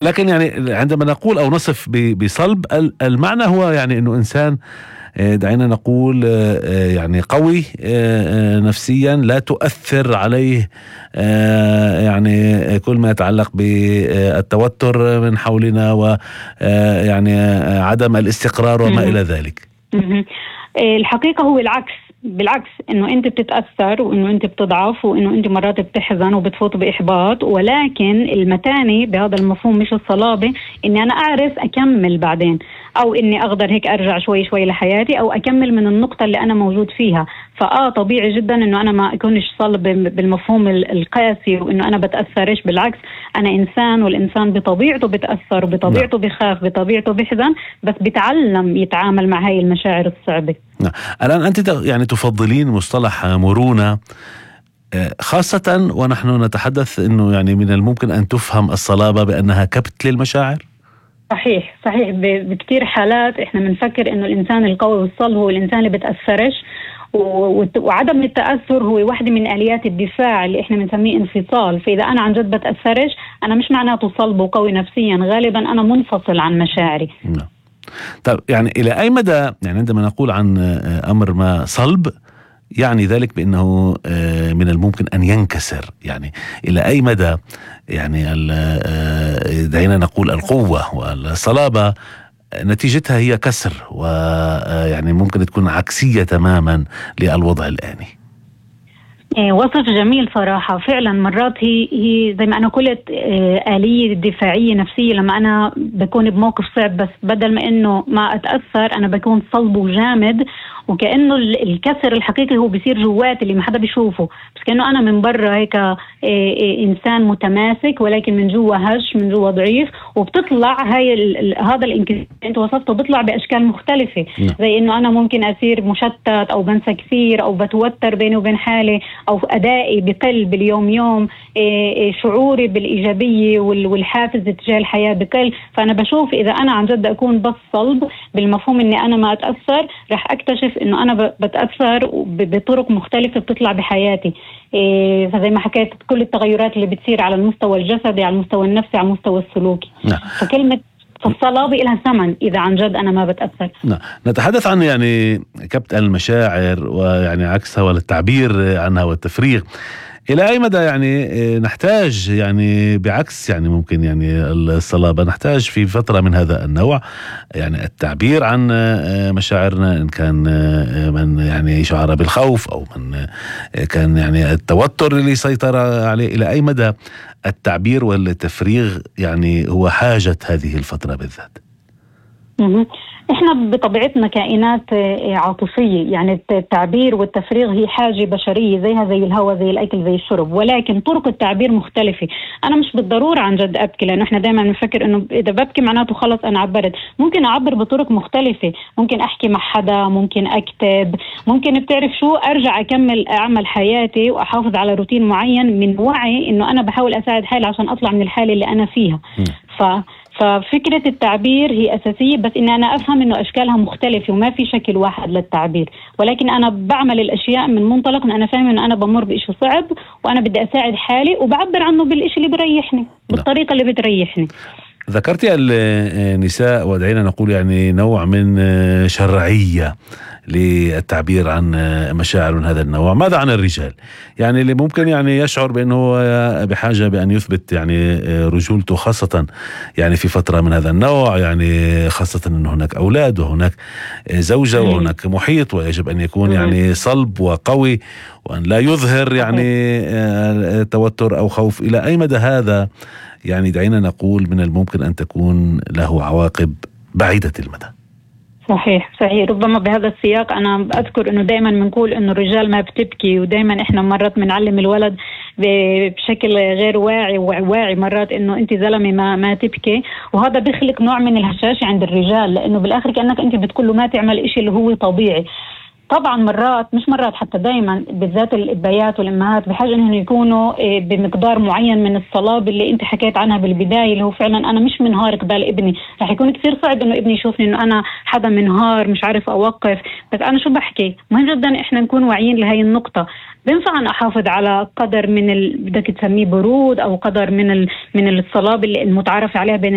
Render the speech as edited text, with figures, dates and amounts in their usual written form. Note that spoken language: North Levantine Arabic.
لكن يعني عندما نقول أو نصف بصلب المعنى هو يعني إنه إنسان دعينا نقول يعني قوي نفسيا، لا تؤثر عليه يعني كل ما يتعلق بالتوتر من حولنا ويعني عدم الاستقرار وما إلى ذلك. الحقيقة هو العكس، بالعكس انه انت بتتأثر وانه انت بتضعف وانه انت مرات بتحزن وبتفوت بإحباط، ولكن المتانة بهذا المفهوم مش الصلابة، اني انا اعرف اكمل بعدين، او اني اقدر هيك ارجع شوي شوي لحياتي او اكمل من النقطة اللي انا موجود فيها. طبيعي جدا انه انا ما اكونش صلب بالمفهوم القاسي وانه انا بتأثرش، بالعكس انا انسان، والانسان بطبيعته بتأثر وبطبيعته بخاف، بطبيعته بحزن، بس بيتعلم يتعامل مع هاي المشاعر الصعبة. الآن أنت يعني تفضلين مصطلح مرونة، خاصة ونحن نتحدث أنه يعني من الممكن أن تفهم الصلابة بأنها كبت للمشاعر؟ صحيح بكتير حالات احنا بنفكر انه الانسان القوي والصلب هو الانسان اللي بتأثرش، وعدم التأثر هو واحدة من آليات الدفاع اللي احنا بنسميه انفصال. فإذا أنا عن جد بتأثرش أنا مش معناته صلب وقوي نفسيا، غالبا أنا منفصل عن مشاعري. طيب يعني إلى أي مدى يعني عندما نقول عن أمر ما صلب يعني ذلك بأنه من الممكن أن ينكسر، يعني إلى أي مدى يعني دعينا نقول القوة والصلابة نتيجتها هي كسر، ويعني ممكن تكون عكسية تماما للوضع الآني؟ وصف جميل صراحة. فعلا مرات هي زي ما أنا قلت آلية دفاعية نفسية. لما أنا بكون بموقف صعب بس بدل ما إنه ما أتأثر أنا بكون صلب وجامد، وكأنه الكسر الحقيقي هو بيصير جوات اللي ما حدا بيشوفه، بس كأنه أنا من برا هيك إنسان متماسك ولكن من جوا هش، من جوا ضعيف. وبتطلع هذا الانكسار أنت وصفته بيطلع بأشكال مختلفة، زي إنه أنا ممكن أصير مشتت أو بنسى كثير أو بتوتر بيني وبين حالي، أو أدائي بقل باليوم يوم، شعوري بالإيجابية والحافز تجاه الحياة بقل. فأنا بشوف إذا أنا عن جد أكون بس صلب بالمفهوم إني أنا ما أتأثر، رح أكتشف إنه أنا بتأثر بطرق مختلفة بتطلع بحياتي. فزي ما حكيت كل التغيرات اللي بتصير على المستوى الجسدي، على المستوى النفسي، على المستوى السلوكي. فكلمة فالصلابة لها ثمن إذا عن جد أنا ما بتأثر. نتحدث عن يعني كبت المشاعر ويعني عكسها والتعبير عنها والتفريغ. إلى أي مدى يعني نحتاج يعني بعكس يعني ممكن يعني الصلابة نحتاج في فترة من هذا النوع يعني التعبير عن مشاعرنا، إن كان من يعني شعر بالخوف أو من كان يعني التوتر اللي سيطر عليه، إلى أي مدى التعبير والتفريغ يعني هو حاجة هذه الفترة بالذات؟ احنا بطبيعتنا كائنات عاطفية، يعني التعبير والتفريغ هي حاجة بشرية زيها زي الهواء زي الأكل زي الشرب، ولكن طرق التعبير مختلفة. أنا مش بالضرورة عن جد أبكي، لأنه احنا دائما نفكر إنه إذا ببكي معناته خلص أنا عبرت. ممكن أعبر بطرق مختلفة، ممكن أحكي مع حدا، ممكن أكتب، ممكن بتعرف شو أرجع أكمل أعمل حياتي وأحافظ على روتين معين من وعي إنه أنا بحاول أساعد حالي عشان أطلع من الحالة اللي أنا فيها. ففكرة التعبير هي أساسية، بس إن أنا أفهم إنه أشكالها مختلفة وما في شكل واحد للتعبير، ولكن أنا بعمل الأشياء من منطلق إن أنا فاهم إنه أنا بمر بإشي صعب وأنا بدي أساعد حالي، وبعبر عنه بالإشي اللي بريحني بالطريقة اللي بتريحني. ذكرتي النساء ودعينا نقول يعني نوع من شرعية للتعبير عن مشاعر من هذا النوع. ماذا عن الرجال؟ يعني اللي ممكن يعني يشعر بأنه بحاجة بأن يثبت يعني رجولته، خاصة يعني في فترة من هذا النوع، يعني خاصة أن هناك أولاد وهناك زوجة وهناك محيط، ويجب أن يكون يعني صلب وقوي وأن لا يظهر يعني توتر أو خوف. إلى أي مدى هذا يعني دعينا نقول من الممكن أن تكون له عواقب بعيدة المدى؟ صحيح. ربما بهذا السياق أنا أذكر أنه دائما بنقول أنه الرجال ما بتبكي، ودائما إحنا مرات بنعلم الولد بشكل غير واعي مرات أنه أنت زلمة ما تبكي، وهذا بيخلق نوع من الهشاشة عند الرجال، لأنه بالآخر كأنك أنت بتقول له ما تعمل إشي اللي هو طبيعي. طبعا مرات مش مرات حتى دايما بالذات الابيات والامهات بحاجه انهم يكونوا بمقدار معين من الصلابه اللي انت حكيت عنها بالبدايه، اللي هو فعلا انا مش منهار قبال ابني. رح يكون كثير صعب انه ابني يشوفني انه انا حدا منهار مش عارف اوقف، بس انا شو بحكي. مهم جدا احنا نكون واعيين لهي النقطه. بينفع أن أحافظ على قدر من بدك تسميه برود أو قدر من الصلابة اللي المتعارف عليها بين